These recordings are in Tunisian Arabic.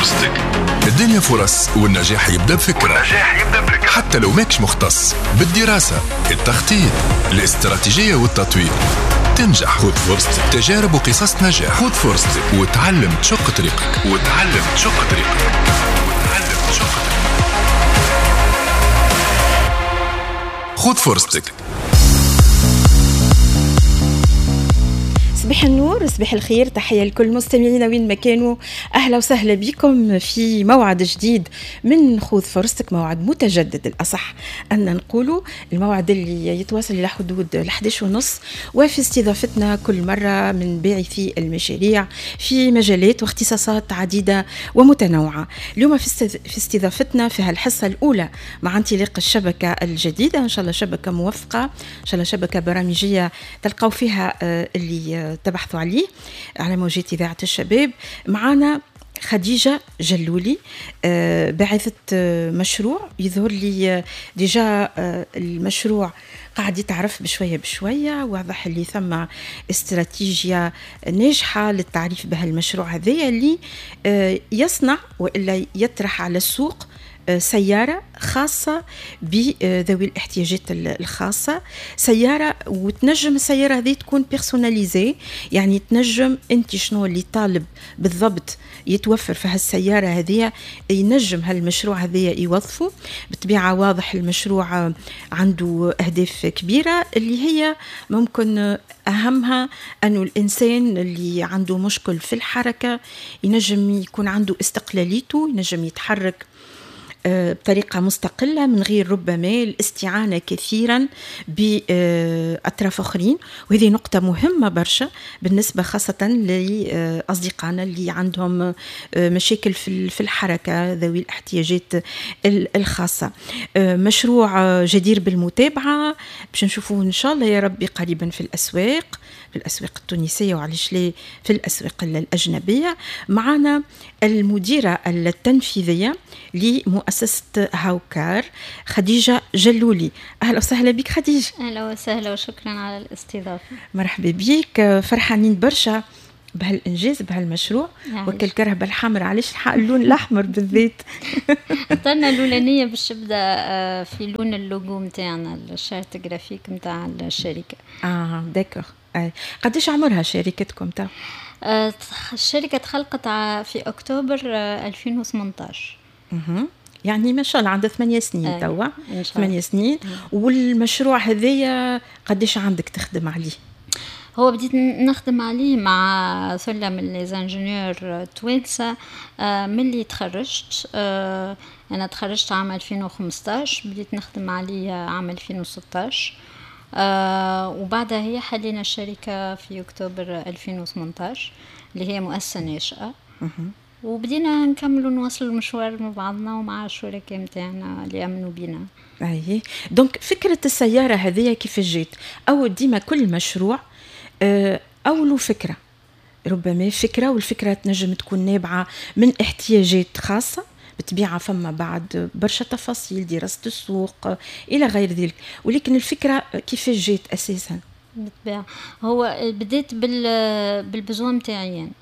فرصتك. الدنيا فرص والنجاح يبدأ بفكرة. حتى لو ماكش مختص بالدراسة، التخطيط، الاستراتيجية والتطوير تنجح. خذ فرصتك، تجارب وقصص نجاح. خذ فرصتك وتعلم تشق طريقك، وتعلم تشق طريقك، وتعلم تشق طريقك. خذ فرصتك. صباح النور، صباح الخير، تحية لكل مستمعينا وين ما كانوا. أهلا وسهلا بكم في موعد جديد من خذ فرصتك، موعد متجدد الأصح أن نقوله، الموعد اللي يتواصل إلى حدود 11:30، وفي استضافتنا كل مرة من باعثي المشاريع في مجالات واختصاصات عديدة ومتنوعة. اليوم في استضافتنا في هالحصة الأولى مع انطلاق الشبكة الجديدة، إن شاء الله شبكة موفقة، إن شاء الله شبكة برامجية تلقوا فيها اللي تبحثوا عليه على موجات إذاعة الشباب. معنا خديجة جلولي، باعثة مشروع يظهر لي déjà المشروع قاعد يتعرف بشوية بشوية، واضح اللي ثم استراتيجية ناجحة للتعريف بهالمشروع هذايا اللي يصنع وإلا يطرح على السوق سيارة خاصة بذوي الاحتياجات الخاصة، سيارة وتنجم السيارة هذه تكون personnalisée، يعني تنجم انت شنو اللي طالب بالضبط يتوفر في هالسيارة هذه، ينجم هالمشروع هذه يوظفه. بالطبيعة واضح المشروع عنده أهداف كبيرة اللي هي ممكن أهمها أنه الإنسان اللي عنده مشكل في الحركة ينجم يكون عنده استقلاليته، ينجم يتحرك بطريقة مستقلة من غير ربما الاستعانة كثيرا بأطراف أخرين، وهذه نقطة مهمة برشا بالنسبة خاصة لأصدقائنا اللي عندهم مشاكل في الحركة، ذوي الاحتياجات الخاصة. مشروع جدير بالمتابعة باش نشوفوه إن شاء الله يا ربي قريبا في الأسواق، في الأسواق التونسية وعلاش لا في الأسواق الأجنبية. معنا المديرة التنفيذية لمؤسسة هاوكار خديجة جلولي. أهلا وسهلا بك خديجة. أهلا وسهلا وشكرا على الاستضافة. مرحبا بك، فرحانين برشا بهالإنجاز بهالمشروع. وكل كرهبة الحمراء، علاش اللون الأحمر بالذات؟ اخترنا الأولانية باش تبدا في لون اللوجو نتاعنا، ال charte graphique نتاع الشركة. d'accord. قديش عمرها شركتكم تا؟ الشركة تخلقت في أكتوبر 2018. يعني ما شاء الله عندها 8 سنين توا. 8 سنين. والمشروع هذايا قديش عندك تخدم عليه؟ هو بديت نخدم عليه مع ثلة من les ingénieurs توانسة ملي تخرجت. أنا تخرجت عام 2015، بديت نخدم عليه عام 2016، وبعدها هي حلينا الشركة في أكتوبر 2018 اللي هي مؤسسة ناشئة. وبدينا نكملوا نواصلوا المشوار مع بعضنا ومع الشركاء متاعنا اللي امنوا بينا. اي donc فكرة السيارة هذه كيف جات؟ او ديما كل مشروع اولو فكرة، ربما فكرة، والفكرة تنجم تكون نابعة من احتياجات خاصة، بالطبيعة فما بعد برشا تفاصيل، دراسة السوق الى غير ذلك، ولكن الفكرة كيف جات اساسا؟ بالطبيعة هو بديت بال besoin متاعي يعني.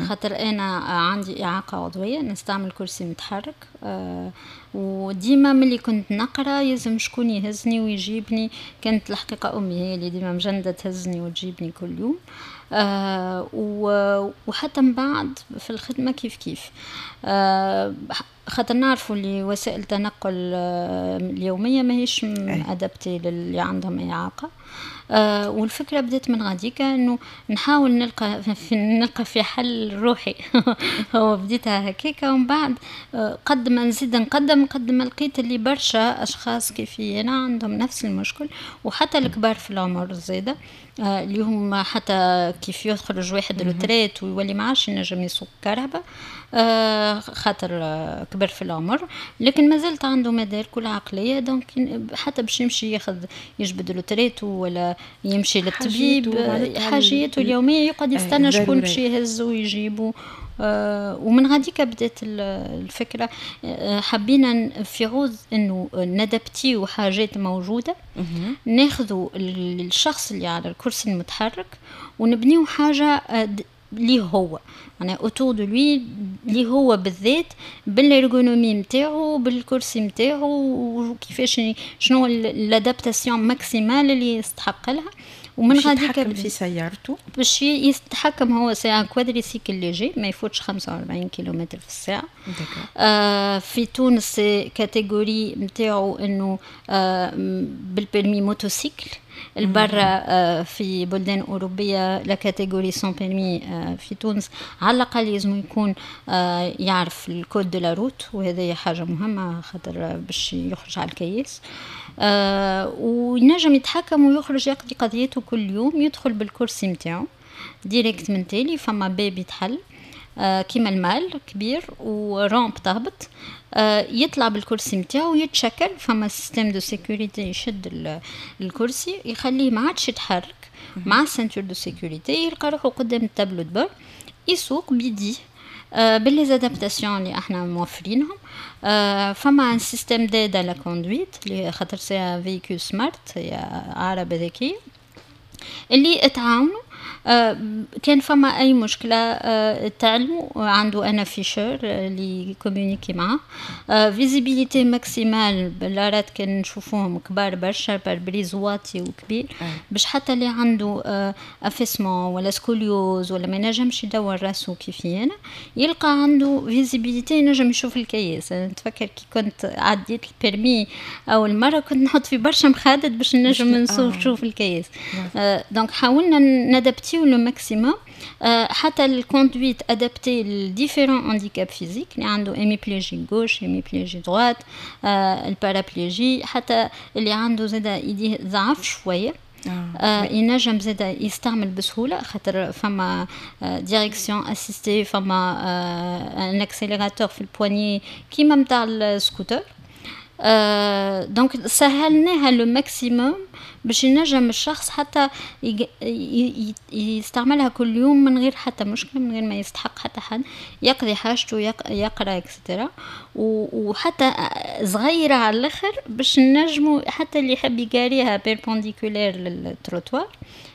خاطر انا عندي اعاقه عضوية، نستعمل كرسي متحرك، وديما ملي كنت نقرا يلزم شكون يهزني ويجيبني. كانت الحقيقة امي هي اللي ديما مجندة تهزني وتجيبني كل يوم، وحتى من بعد في الخدمة كيف كيف، خاطر نعرفوا اللي وسائل التنقل اليومية ماهيش adaptée للي عندهم اعاقه. والفكرة بدأت من غاديكا انه نحاول نلقى في حل روحي. هو بديتها هكاكا، ومن بعد قد ما نزيد نقدم قد ما لقيت اللي برشا اشخاص كيفي انا عندهم نفس المشكل، وحتى الكبار في العمر زاده، اللي هم حتى كيف يخرج واحد retraite ويولي ما عادش ينجم يسوق كرهبة، خاطر كبر في العمر، لكن ما زالت عنده مدارك العقلية، donc حتى باش يمشي ياخذ يجبد retraite ولا يمشي للطبيب حاجيته اليومية يقعد يستنى شكون باش يهز ويجيبه. ومن غاديك بدات الفكرة. حبينا في عوض انه ندبتيو حاجات موجودة، ناخذوا الشخص اللي على الكرسي المتحرك ونبنيو حاجة ليه هو. معناها autour de lui اللي هو بالذات بال ergonomie نتاعو، بالكرسي نتاعو، وكيفاش شنو l'adaptation maximale اللي يستحق لها. ومن غادي يتحكم في سيارته. باش يتحكم هو c'est un quadricycle léger، ما يفوتش 45 كيلومتر في الساعة. في تونس catégorie نتاعو انه بال permis motocycle. البرا في بلدان أوروبية la catégorie sans permis. في تونس على الأقل لازم يكون يعرف ال code de la route، وهذه حاجة مهمة خاطر باش يخرج على الكياس وينجم يتحكم ويخرج يقضي قضيته كل يوم. يدخل بالكرسي متاعو direct من تالي، فما باب يتحل كيما ال malle كبير و rampe تهبط، يطلع بالكرسي نتاعو يتشكل، فما système de sécurité يشد الكرسي يخليه ما عادش يتحرك مع ceinture de sécurité، يلقى روحو قدام ال tableau de bord يسوق بيديه ب les adaptations اللي احنا موفرينهم. فما un système d'aide à la conduite اللي خاطر c'est un véhicule smart، هي عربة ذكية اللي تعاونوا كان فما اي مشكلة تعلموا، عنده un afficheur اللي communiquer معاه، visibilité maximale، بلارات كان نشوفوهم كبار برشا، pare-brise واطي وكبير باش حتى اللي عنده affaissement ولا scoliose ولا ما ينجمش يدور راسه كيفي انا يلقى عنده visibilité، ينجم يشوف الكياس. نتفكر كي كنت عديت ال permis اول مرة كنت نحط في برشا مخادد باش نجم نشوف الكياس. donc حاولنا ن adapter le maximum حتى ال conduite adaptée ل différents handicaps physiques، اللي عنده hémiplégie gauche، hémiplégie droite، ال paraplégie، حتى اللي عنده زادا يديه ضعف شوية ينجم زادا يستعمل بسهوله، خاطر فما direction assistée، فما un accélérateur في ال poignée كيما نتاع السكوتر. Donc سهلناها le maximum باش ينجم الشخص حتى يستعملها كل يوم من غير حتى مشكلة، من غير ما يستحق حتى حد، يقضي حاجته، يقرا et cetera. وحتى صغيرة على الاخر باش نجمو حتى اللي يحب يقاريها perpendiculaire لل trottoir،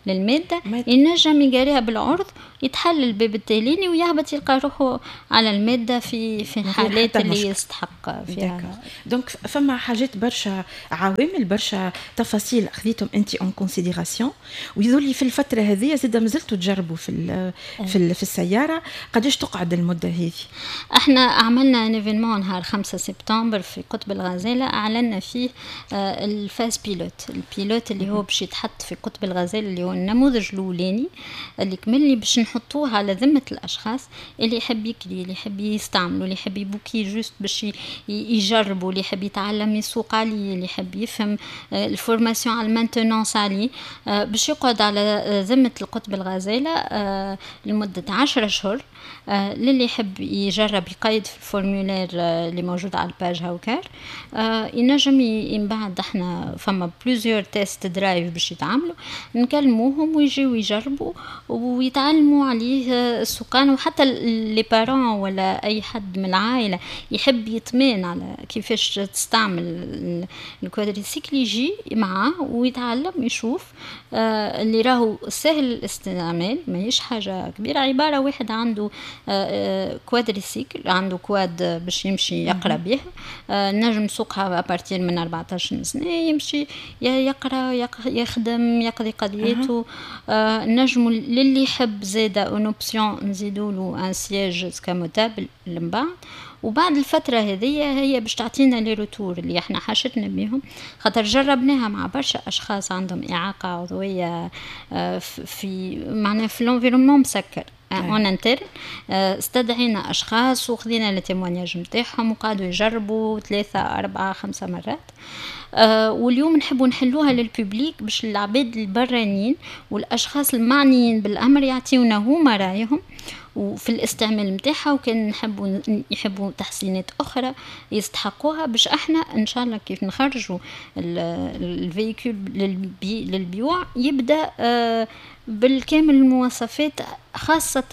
للمادة، ينجم يقاريها بالعرض، يتحل الباب التاليني ويهبط يلقى روحه على المادة في الحالات اللي يستحق فيها. donc فما حاجات برشا، عوامل برشا، تفاصيل خذيتهم انت en considération، ويظهرلي في الفترة هذه زاد مازلتوا تجربوا في السياره. قداش تقعد المدة هذه؟ احنا عملنا un événement نهار 5 سبتمبر في قطب الغزاله، اعلنا فيه ال phase pilote، ال pilote اللي هو باش يتحط في قطب الغزالة، اللي هو النموذج الاولاني اللي كمل باش نحطوه على ذمه الاشخاص اللي يحب يكري، اللي يحب يستعملوا، اللي يحب يبوكي juste باش يجربوا، اللي يحب يتعلم يسوق عليه، اللي يحب يفهم ال formation على ال maintenance عليه، باش يقعد على ذمه القطب الغزالة لمدة 10 اشهر. للي يحب يجرب يقيد في ال formulaire اللي موجود على ال page هاوكار، ينجم من بعد احنا فما plusieurs test drive باش يتعاملوا، نكلموهم ويجيو يجربوا ويتعلموا عليه السوقان. وحتى les parents ولا اي حد من العائلة يحب يطمئن على كيفاش تستعمل ال quadricycle يجي معاه ويتعلم يشوف اللي راهو سهل الاستعمال، ماهيش حاجة كبيره، عبارة واحد عنده quadricycle، عنده quad باش يمشي يقرا به، نجم سوقها à partir من 14 سنه، يمشي يقرا، يخدم، يقضي قضيته. نجم للي يحب زاده une option نزيدوا له un siège escamotable من بعد. وبعد الفترة هذه هي باش تعطينا les retours اللي احنا حاجتنا بيهم، خاطر جربناها مع برشا أشخاص عندهم إعاقة عضوية في معناها في l'environnement مسكر en interne. استدعينا اشخاص وخذينا les témoignages نتاعهم وقعدوا يجربوا ثلاثة أربعة خمسة مرات. واليوم نحبوا نحلوها لل public باش العباد البرانيين والاشخاص المعنيين بالامر يعطيونا هما رايهم وفي الاستعمال نتاعها، وكان نحبوا يحبوا تحسينات اخرى يستحقوها، باش احنا ان شاء الله كيف نخرجوا ال véhicule للبيوع يبدا بالكامل المواصفات، خاصة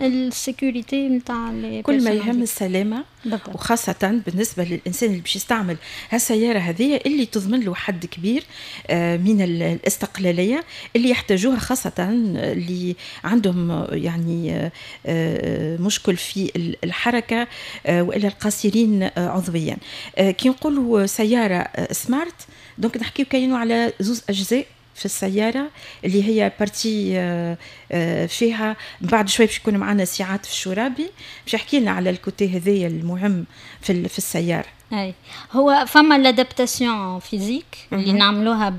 ال sécurité نتاع كل ما يهم السلامة بالضبط. وخاصة بالنسبة للإنسان اللي باش يستعمل هالسيارة هذه اللي تضمن له حد كبير من الاستقلالية اللي يحتاجوها، خاصة اللي عندهم يعني مشكل في الحركة والا القاصرين عضويا. كي نقولوا سيارة smart، donc نحكيو كاينوا على زوز اجزاء في السيارة، اللي هي partie فيها بعد شوي باش يكون معنا سي عاطف الشرابي باش يحكي لنا على ال côté هذايا المهم في السياره. اي، هو فما l'adaptation physique اللي نعملوها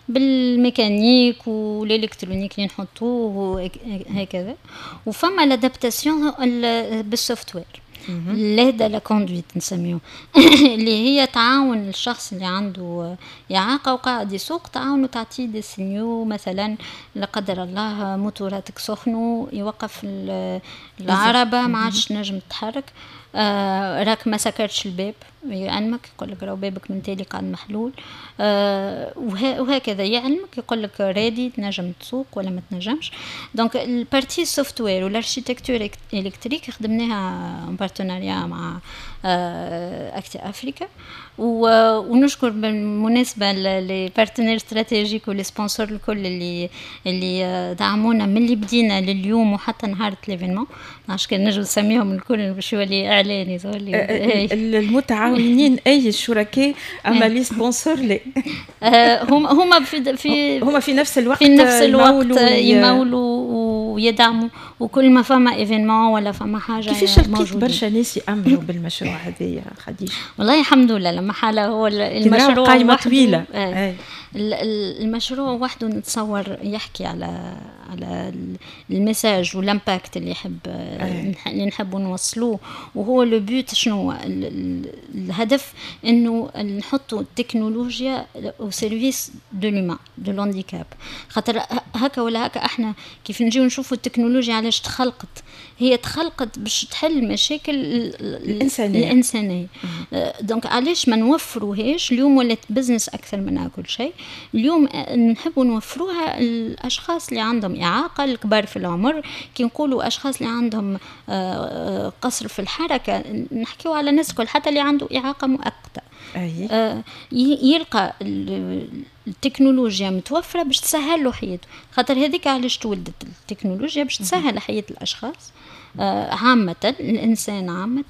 بال mécanique و l'électronique اللي نحطوه هكذا، وفما l'adaptation بال software، l'aide à la conduite نسميوه، اللي هي تعاون الشخص اللي عنده إعاقة وقاعد يسوق، تعاونه، تعطيه des signaux، مثلا لا قدر الله موتوراتك سخنوا، يوقف العربة، ما عادش نجم تتحرك، راك ما سكرتش الباب، يعلمك، يقول لك راهو بابك من تالي قاعد محلول، وهكذا يعلمك، يقول لك ready، تنجم تسوق ولا ما تنجمش. donc ال partie software وال architecture électrique خدمناها en partenariat مع Acti Africa، ونشكر بالمناسبة les partenaires stratégiques و les sponsors الكل اللي دعمونا من اللي بدينا لليوم وحتى نهار l'événement. عشان كان نجم نسميهم الكل باش يولي اعلان يولي المتعاونين، اي الشركاء، اما les sponsors لا. هم في هما في نفس الوقت. في نفس الوقت يمولوا ويدعموا، وكل ما فما événement ولا فما حاجه. كيفاش لقيت برشا ناس يامنوا بالمشروع هذايا خديجه؟ والله الحمد لله، لما حالة هو المشروع قائمة طويله. المشروع وحده نتصور يحكي على ال message وال impact اللي نحبوا نوصلوه. وهو le but شنو؟ الهدف انه نحطوا التكنولوجيا au service de l'humain، de l'handicap، خاطر هكا ولا هكا احنا كيف نجيو نشوفوا التكنولوجيا علاش تخلقت، هي تخلقت باش تحل مشاكل الإنسانية. الإنسانية. donc علاش ما نوفروهاش؟ اليوم ولات business أكثر منها كل شيء. اليوم نحبوا نوفروها الأشخاص اللي عندهم إعاقة، الكبار في العمر. كي نقولوا أشخاص اللي عندهم قصر في الحركة، نحكيو على الناس الكل، حتى اللي عنده إعاقة مؤقتة. يلقى التكنولوجيا متوفرة باش تسهل له حياته، خاطر هذيك علاش تولدت التكنولوجيا، باش تسهل حياة الأشخاص عامة، الإنسان عامة.